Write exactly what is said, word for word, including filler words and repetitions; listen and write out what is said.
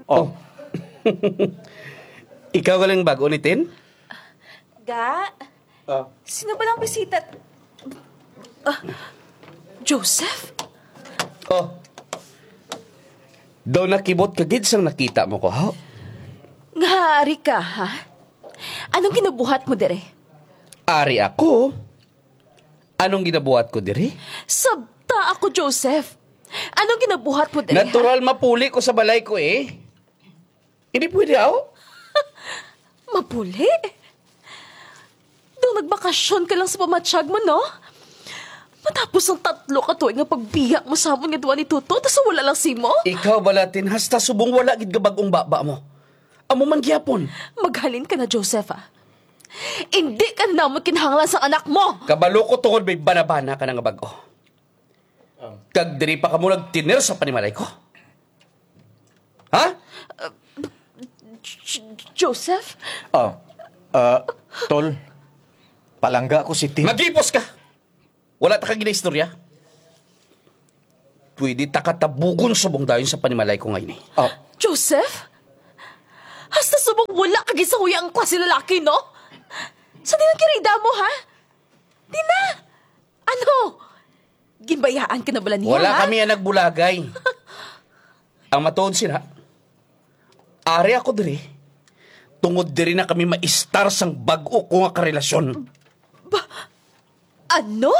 Oh. Ikaw galing bago ni Tin? Ga? Ah. Sino ba lang bisita? Ah, Joseph? Oh. Daw nakibot ka gid sang nakita mo ko, ha? Nga ari ka, ha? Anong ginabuhat mo dire? Ari ako. Anong ginabuhat ko diri? Sabta ako, Joseph. Anong ginabuhat mo diri, ha? Natural, mapuli ko sa balay ko, eh. Hindi pwede, aw? Mapuli? Daw nagbakasyon ka lang sa pamatyag mo, no? Matapos ang tatlo ka tuig nga pagbiya mo sa amon nga duha ni Toto, tas wala lang simo? Ikaw bala, Tin, hasta subong wala gid ka bag-ong baba mo. Amo man gyapon. Maghalin ka na, Joseph, ah. Hindi ka na namon kinahanglan sa anak mo. Kabalo ko tungod may banabana ka na nga bag-o. Kag diri pa kamo nagtiner sa panimalay ko. Ha? J-, J-, Joseph? Ah, ah, Tol, palangga ko si Tin. Maghipos ka! Wala ta ka ginaistorya. Pwede ta ka tabugon subong dayon sa panimalay ko nga ini. Ah. Joseph? Hasta subong wala ka ginsahuya ang klase lalaki, no? Sa dilang kirida mo, ha? Di na! Ano? Ginbayaan ka na bala niya, Wala ha? kami ang nagbulagay. Ang matuod sila, ari ako diri, tungod diri na kami maistar sang bag-o ko nga karelasyon. Ba-, ano?